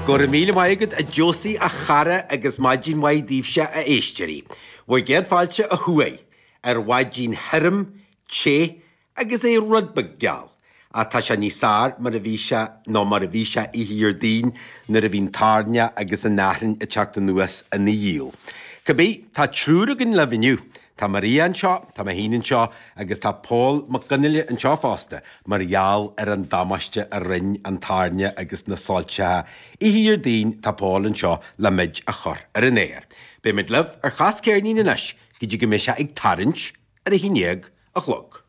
Go raibh míle maith agat a Josie a chara agus maidin mhaith daoibhse a éisteoirí. Bhur gcéad fáilte ó thuaidh ar mhaidin thirim, te agus é rud beag geal. Ach tá sé níos fearr mar a bhí sé ná mar a bhí sé oíche Dhéardaoin nuair a bhí an toirneach agus an fhearthainn ag teacht anuas ina dhiaidh. Cibé, tá triúr againn libh inniu. Tá Maria anseo, tá mé féin anseo agus tá Pól Mac Fhionnghaile anseo fosta mar gheall ar an damáiste a rinn an toirneach agus na soilseacha oíche Dhéardaoin tá Pól anseo le muid a chur ar an aer. Beidh muid libh ar Chas Ceirnín anois go dtí go mbeidh sé ag tarraingt ar a haon dhéag a chlog.